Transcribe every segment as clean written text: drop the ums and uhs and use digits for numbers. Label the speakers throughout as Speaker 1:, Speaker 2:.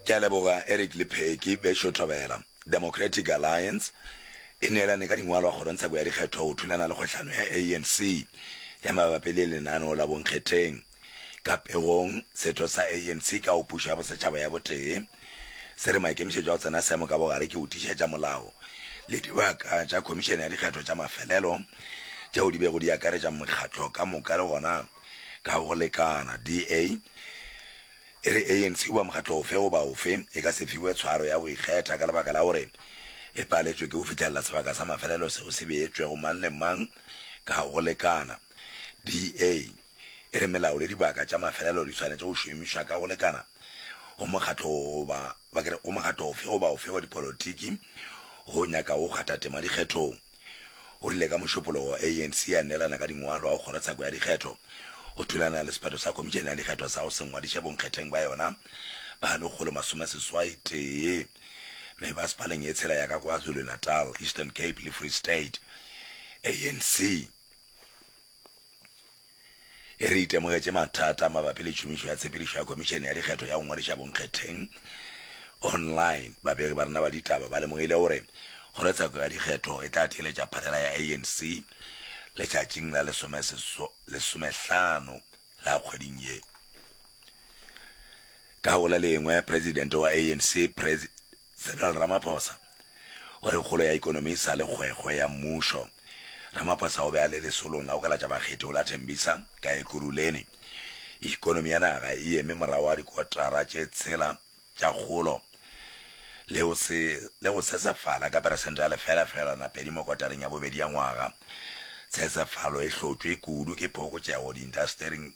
Speaker 1: Ke a leboga Eric le Peggy bešo Thobela. Democratic Alliance e neelane ka dingwalwa kgorongtsheko ya dikgetho go thulana le kgohlano ya ANC ya mabapi le lenaneo la bonkgetheng. Ka pegong, setho sa ANC ka go Pušo ya Bosetšhaba ya Botee se re maikemišetšo a go tsena seemo ka bogare ke go tiišetša molao le dibaka tša Khomišene ya Dikgetho tša mafelelo tšeo di bego di akaretša mekgatlo ka moka le gona ka go lekana. DA e re ANC goba mokgatlo ofe goba ofe e ka se fiwe tshwaro ya go ikgetha ka lebaka la gore e paletšwe ke go fihlelela sebaka sa mafelelo seo se beetšwego mang le mang ka go lekana. DA e re melao le dibaka tša mafelelo di swanetše go šomišwa ka go lekana go mokgatlo goba ba ke re go mokgatlo ofe goba ofe wa dipolotiki go nyakago go kgatha tema dikgethong. O rile ka Mošupologo ANC ya neelana ka dingwalo go kgorotsheko ya dikgetho go thulana le sephetho sa Khomišene ya Dikgetho sa go se ngwadiše bonkgetheng ba yona ba 181 mebasepaleng ye tshela ya ka KwaZulu-Natal, Eastern Cape le Free State. ANC E re itemogetše mathata mabapi le tšhomišo ya tshepedišo ya Khomišene ya Dikgetho ya go ngwadiša bonkgetheng online. Babegi ba rena ba ditaba ba lemogile gore Kgorotsheko ya Dikgetho e tla theeletša phanela ya ANC letšatšing la lesomehlano la kgweding ye. Ka go le lengwe, Presidente wa ANC, Cyril Ramaphosa o re kgolo ya ikonomi e sa le kgwekgwe ya mmušo. Ramaphosa o be a le lesolong la go kalatša bakgethi go la Tembisa ka Ekurhuleni. Ikonomi ya naga e eme morago ga dikotara tše tshela tša kgolo le go se le go sesefala ka peresente ya lefela-fegelwana-pedi mo kotareng ya bobedi ya ngwaga. Tshesefalo e hlotšwe kudu ke phokotšego diintastering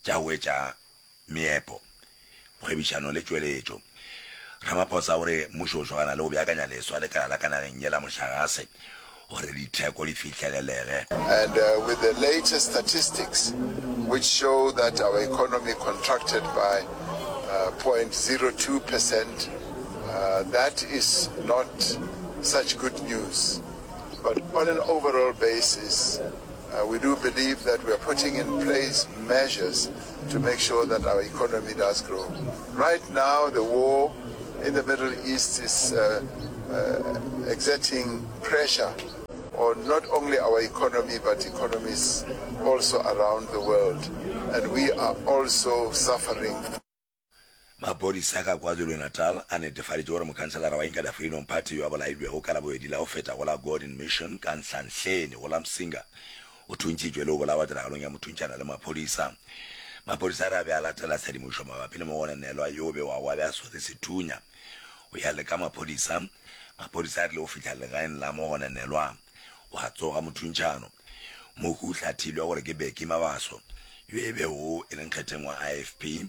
Speaker 1: tša go etša meepo, kgwebišano le tšweletšo. Ramaphosa o re mmušo o šogana le go beakanya leswa lekala la ka nageng ye la mohlagase gore ditheko di fihlelelege.
Speaker 2: And with the latest statistics which show that our economy contracted by 0.02 percent, that is not such good news. But on an overall basis, we do believe that we are putting in place measures to make sure that our economy does grow. Right now, the war in the Middle East is uh, uh, exerting pressure on not only our economy but economies also around the world. And we are also suffering.
Speaker 1: Maphodisa ka KwaZulu-Natal a netefaditše gore mokhanselara wa Inkatha Freedom Party yo a bolailwego ka Labobedi la go feta go la Gordon Mission ka Nhlanhleni go la Msinga o thuntšitšwe le go bolawa tiragalong ya mothuntšana le maphodisa. Maphodisa a re a be a latela tshedimošo mabapi le mogononelwa yo bewago a be a swere sethunya. Go ya le ka maphodisa, maphodisa a rile go fihla legaeng la mogononelwa gwa tsoga mothuntšhano. Mohu o hlathilwe gore ke Bheki Mabaso yo e bego e le nkgetheng wa IFP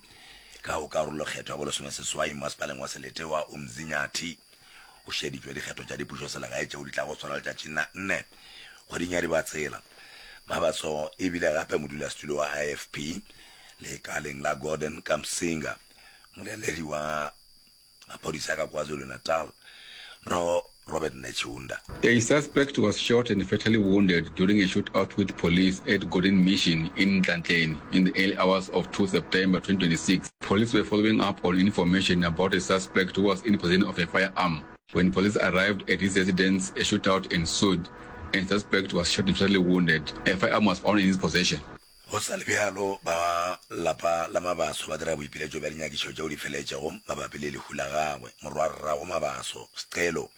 Speaker 1: ka go karolokgetho ya bolesomeseswai mmasepaleng wa selete wa Umzinyathi. Go šeditšwe dikgetho tša dipušoselegae tšeo di tlago swarwa letšatšing la nne kgweding ya Dibatsela. Mabaso e bile gape modulasetulo wa IFP lekaleng la Gordon ka Msinga, moleledi wa Maphodisa ka KwaZulu-Natal, Mro Robert Netshiunda.
Speaker 3: A suspect was shot and fatally wounded during a shootout with police at Gordon Mission in Nhlanhleni in the early hours of 2 September 2026. Police were following up on information about a suspect who was in possession of a firearm. When police arrived at his residence, a shootout ensued and the suspect was shot and fatally wounded. A firearm was found in his possession.
Speaker 1: Go sa le bjalo, ba lapa la Mabaso ba dira boipiletšo bja dinyakišo tšeo di feletšego mabapi le lehu la gagwe. Morwarrago Mabaso, Scelo,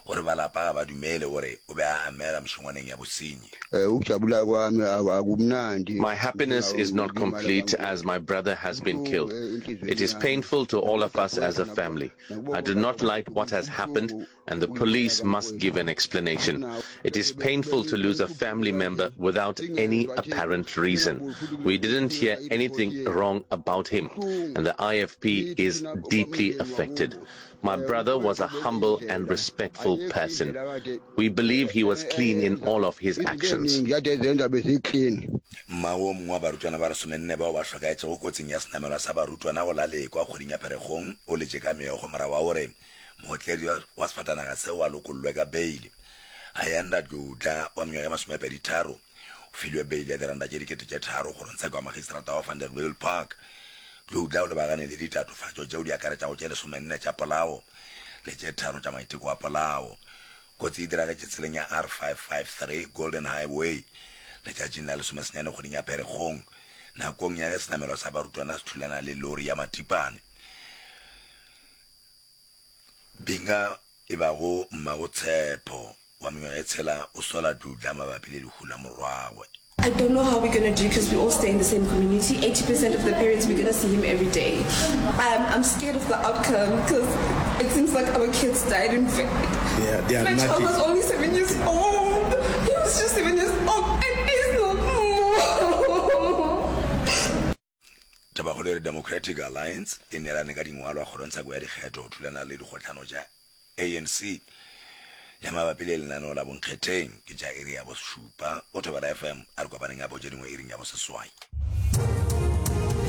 Speaker 1: o re ba lapa ga ba dumele gore o be a amega mešongwaneng ya bosenyi.
Speaker 4: Ukujabula kwami akumnandi.
Speaker 5: My happiness is not complete as my brother has been killed. It is painful to all of us as a family. I do not like what has happened and the police must give an explanation. It is painful to lose a family member without any apparent reason. We didn't hear anything wrong about him, and the IFP is deeply affected. My brother was a humble and respectful person. We believe he was clean in all of his actions.
Speaker 1: Mmago o mongwe wa barutwana ba lesomenne bao ba hlokaetšego kotsing ya senamelwa sa barutwana go la Lekwa kgweding ya Pherekgong o letše ka meokgo morago ga gore Mootledi wa sefatanaga seo a lokollwe ka beile. Ayanda Dludla wa mengwaga e masomepeditharo o filwe beile ya diranta tše 3000 kgorongtsheko ya magistrata wa Vanderbijlpark. Dludla o lebagane le ditatofatšo tšeo di akaretšago tše lesomenne tša polao le tše tharo tša maiteko a polao. Kotsi e diragetše tseleng ya R553 Golden Highway letšatšing la lesomesenyane kgweding ya Pherekgong nakong ya ge senamelwa sa barutwana se thulana le lori ya matipane. Binga e bago mmago Tshepo wa mengwaga e tshela o sola Dludla mabapi le lehu la morwagwe.
Speaker 6: I don't know how we're gonna do because we all stay in the same community. 80% of the parents, we're gonna see him every day. Um, I'm scared of the outcome because it seems like our kids died in vain.
Speaker 7: Yeah, they are
Speaker 6: My child
Speaker 7: nothing.
Speaker 6: was only seven years old. He was just seven years old and he's not more.
Speaker 1: Tabakgolo e re Democratic Alliance e neelane ka dingwalwa kgorongtsheko ya dikgetho go thulana le dikgohlano tša ANC ya mabapi le lenaneo la bonkgetheng. Ke tša iri ya bošupa go Thobela FM. A re kopaneng gape go tše dingwe iring ya boseswai.